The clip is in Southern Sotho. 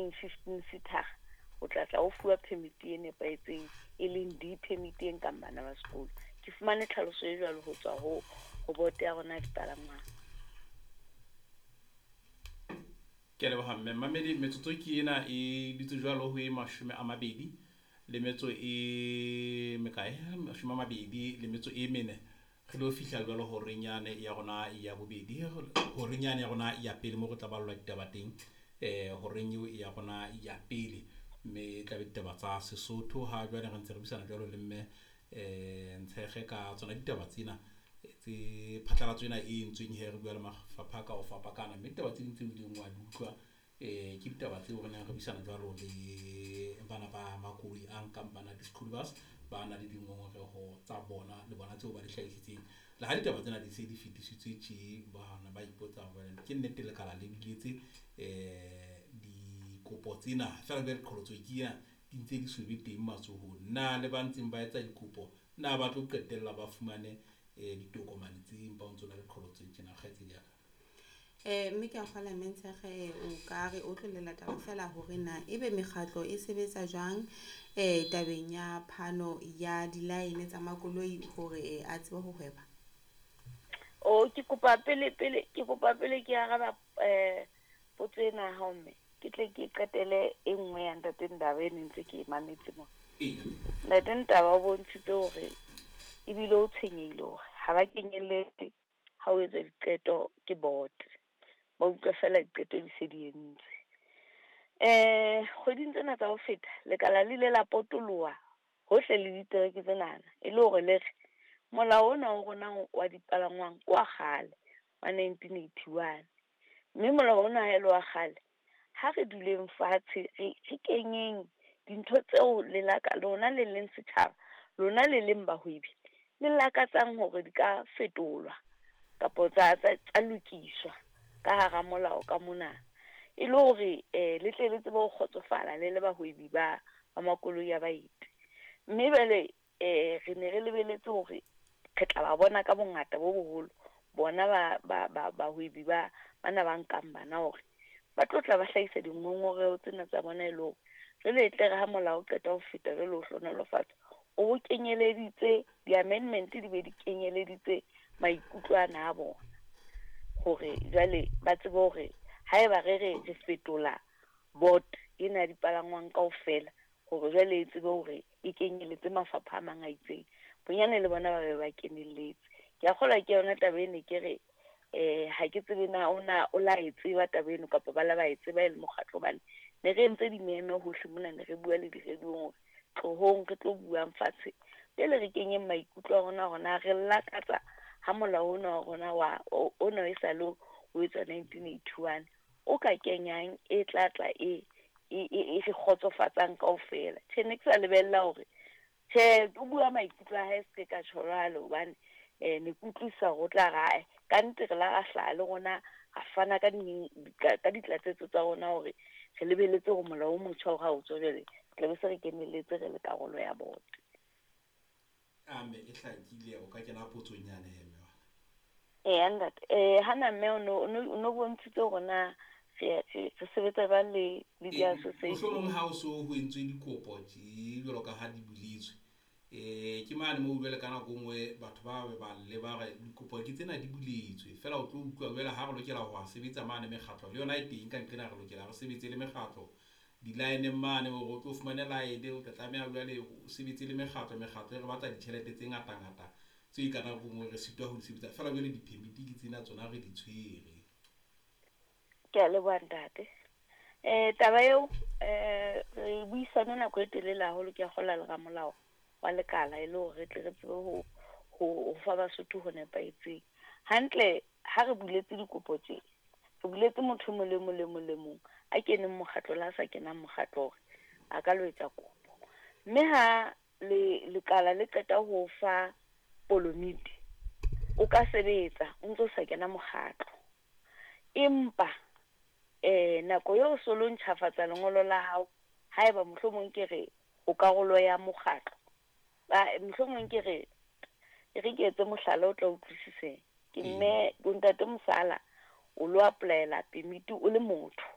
leng 15 seater o tla tla o fuwa permit e nepahetseng, e leng D permit e nkang bana ba sekolo. Ke fumane tlhaloso e jwalo ho tswa ho boto ya rona ya dipalangwang. Ke a leboha mme mamedi. Metsotso ke ena e dutse jwalo ho e 20 le metso e mekae, 24. Re lo fihla jwalo horeng yane ya rona ya bobedi, horeng yane ya rona ya pele moo re tla ballwa ditaba teng. Horeng eo ya rona ya pele, mme e tlabe ditaba tsa Sesotho. Ha jwale re ntse re buisana jwalo le mme Ntshekge ka tsona ditaba tsena tse phatlalatso ena e entsweng he re bua le mafapha ka ho fapakana. Mme ditaba tse ding tseo o ileng wa di utlwa, ke ditaba tseo re neng re buisana jwalo le bana ba makoloi a nkang bana di-school bus. Ba na le dingongoreho tsa bona le bona tseo ba di hlahisitseng. Le ha ditaba tsena di se di fetisitswe tje, bana ba ipotsa hore ke nnete lekala le buletse dikopo tsena. Feela jwale qholotso ke ena, di ntse di so be teng matsohong. Na le ba ntseng ba etsa dikopo na ba tlo qetella ba fumane ditokomane tse empa ho ntsona le qholotso e tjena kgaitsedi ya ka? Mme ke a kgolwa mme Ntshekge o ka re otlollela taba fela hore na ebe mekgatlo e sebetsa jwang tabeng ya phano ya di-line tsa makoloi hore a tsebe ho hweba. O ke kopa pele pele ke kopa pele ke araba potso ena ya hao mme, ke tle ke qetele e nngwe ya ntate Ndaba e ne ntse ke e mametse mona. Ntate Ndaba o bontshitse hore ebile o tshwenyehile hore ha ba kenyelletse ha o etsa diqeto ke board. Ba utlwa fela diqeto di se di entswe. Kgweding tsena tsa ho feta lekala le ile la potoloha hohle le ditereke tsenana, e le hore le re molao ona wa rona wa dipalangwang ke wa kgale wa 1981, mme molao ona ha e le wa kgale, ha re duleng fatshe re kenyeng dintho tseo lelaka lona le leng setjhaba, lona le leng bahwebi le lakatsang hore di ka fetolwa kapa tsa lokiswa ka hara molao ka mona, e le hore le tle le tsebe ho kgotsofala le le bahwebi ba makoloi a baeti. Mme jwale re ne re lebeletse hore re tla ba bona ka bongata bo boholo bona ba bahwebi ba bana ba nkang bana hore ba tlo tla ba hlahisa dingongoreho tsena tsa bona, e le hore jwale e tle re ha molao o qeta ho feta jwale o hlohonolofatsa, o kenyeleditse di-amendment, di be di kenyeleditse maikutlo ana a bona, hore jwale ba tsebe hore haeba re re re fetola board ena ya dipalangwang kaofela, hore jwale e tsebe hore e kenyeletse mafapha a mang a itseng, bonyane le bona ba be ba kenelletse. Ke a kgolwa ke yona taba ene ke re ha ke tsebe na ona o la e tseba taba eno kapa ba la ba e tseba e le mokgatlo, hobane ne re entse dimeme hohle mona, ne re bua le di-radio-ng hore tlohong re tlo buang fatshe, jwale re kenyeng maikutlo a rona hore na re lakatsa ha molao ona wa rona wa ona e sa le o etswa 1981 o ka kenyang e tla tla e re kgotsofatsang kaofela. Tjhe, ne ke sa lebella hore tjhe o bua maikutlo a hae se ka tjho jwalo, hobane ne ke utlwisisa hore o tla re ae ka nnete re la ra hlaha le rona ra fana ka ka ditlatsetso tsa rona hore re lebeletse hore molao o motjha hore ha o tswa jwale tla be se re kenelletse re le karolo ya board. Ame e hlakile, o ka kena potsong yane he mme wa. Eya ntate, hana mme o no bontshitse hore na re sebetsa jwang le di-association. Mohlomong ha o so ho entswe dikopo tje jwalo ka ha di buletswe, ke mane moo jwale ka nako e nngwe batho ba be ba lle ba re dikopo ke tsena di buletswe, feela o tlo utlwa jwale ha re lokela ho sebetsa mane mekgatlo le yona e teng ka nqena, re lokela re sebetse le mekgatlo di-line mane hore o tlo fumane line, o tla tlameha jwale o sebetse le mekgatlo. Mekgatlo e re batla ditjhelete tse ngata ngata tse ka nako e nngwe re sitwa ho di sebetsa, feela jwale di-permit ke tsena tsona re di tshwere. Ke a leboha ntate. Taba eo re buisane nako e telele haholo, ke a kgolwa le ramolao wa lekala e le hore re tle re tsebe ho fa Basotho ho nepahetseng. Hantle ha re buletse dikopo tje, re buletse motho e mong le mong le mong le mong a keneng mokgatlo le a sa kenang mokgatlo hore a ka lo etsa kopo. Mme ha le lekala le qeta ho fa polomiti, o ka sebetsa o ntso sa kena mokgatlo, empa nako eo so lo ntjhafatsa lengolo la hao, haeba mohlomong ke re o karolo ya mokgatlo, mohlomong ke re e re ke etse mohlala o tla utlwisiseng. Ke mme ntate Mosala o lo apply-ela permit o le motho.